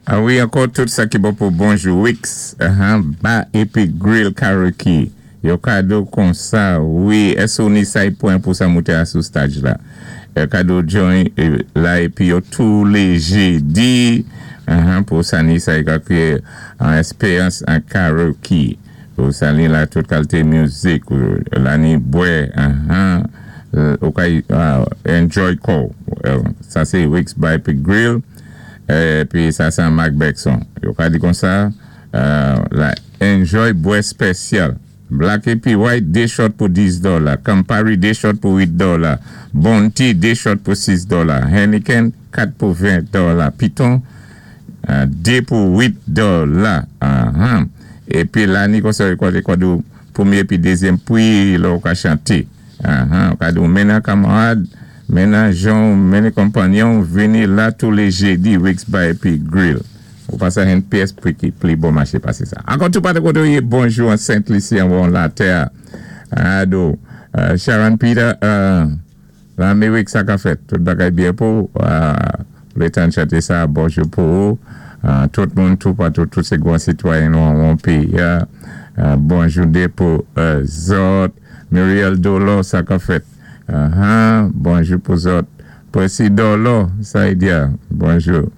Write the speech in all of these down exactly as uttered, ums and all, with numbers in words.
A wi, ankò tout sa ki bon pou bonjou Wix, uh-huh, Bar épi Grill Karaoke. Yo kado kon sa, wi, èso ni sa pwen pou sa mouté a sou stage la. Yo kado join la épi yo tou lé jédi, uh-huh, pou sa ni sa yi ka kwiyé an espéyans an karaoke. Pou sa ni la tout kalité mizik, la ni bwè, uh-huh, ou ka enjoy kou. Sa sé Wix Bar épi Grill. Pi sa sa Mark Beckson. Yo ka di kon sa, la enjoy bwè spesyal. Black épi white, dé shot pou dis dola. Campari, dé shot pou wit dola. Bounty, dé shot pou sis dola. Heineken, kat pou ven dola. Piton, dé pou wit dola. Épi la ni kon sa, yo kwa dou pwémyé pi dézyèm pwi, lò ou ka chanté. Ou ka dou mennen kanmarad, mennen jan, mennen konpanyon, vini la tou lé jédi, Wix Bar épi Grill. Ou pa sa hen pyès pou ki pli bon maché pasé sa. Ankò tou patou koté ou yé bonjou an Saint-Lucie an bon la tè. Ado, Sharon Peter, la mi Wix sa ka fèt. Tout bagay byen pou, lé tan chanté sa, bonjou pou ou. Tout moun tou patou, tout sé gwan sitwayen nou an péyi. Bonjou dé pou zòt. Muriel Dolo, sa ka fèt. Bonjou pou zòt. Presi Dolo, sa yi diya. Bonjou.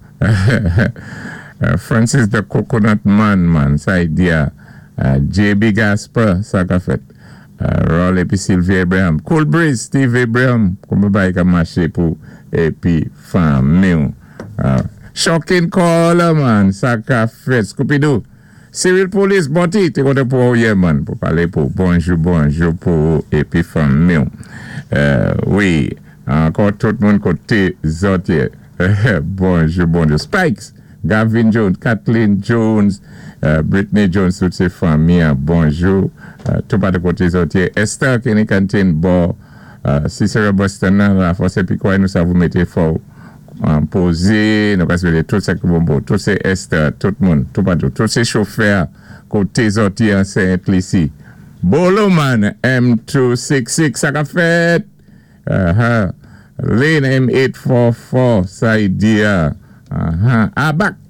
Francis the Coconut Man, man, sa yi diya. J B Gasper, sa ka fèt. Roll épi Sylvie Abraham. Cool Breeze, Steve Abraham. Kouman bay ka maché pou épi fanmi. Shocking Caller, man, sa ka fèt. Scooby-Doo. Cyril Police, Boti, té koté pou ou yé, man, pou palé pou bonjou, bonjou pou épi fanmi. Wi, ankò tout moun koté zòt yé. Bonjou, bonjou. Spikes, Gavin Jones, Kathleen Jones, Britney Jones, tout sé fanmi, bonjou. Tout patou koté zòt yé. Esther Kenny Canteen, bo, Cicero Boston nan, la fòs épi kwa nou sa vou mété fò pozé, nou ka swété tout sa ki bon bon, tout sé Esther, tout moun, tout patou, tout sé chofè koté zòt yé an Saint-Lucie. Bolo man, M two six six, sa ka fèt. Lane M eight four four, sa yi diya. Abak,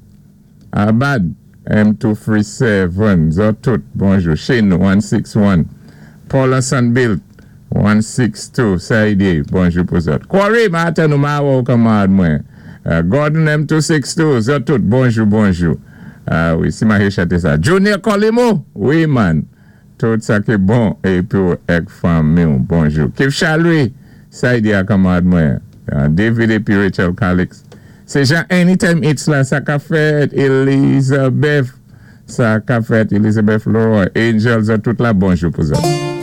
Abad, M two three seven, zòt tout, bonjou. Shane, one six one. Paula Sunbilt, one six two, sa yi di, bonjou pou zòt. Corey, maten nou ma wou kanmarad mwen. Gordon M two six two, zòt tout, bonjou, bonjou. Wi, si ma he chante sa. Junior Colimo, wi man. Tout sa ki bon, épi ou èk fanmi ou, bonjou. Kif Chalui, sa yi di a kanmarad mwen. David épi Rachel Calix. Se jan Anytime It's la, sa ka fèt, Elizabeth. Sa ka fèt, Elizabeth Leroy. Angel, zòt tout la, bonjou pou zòt.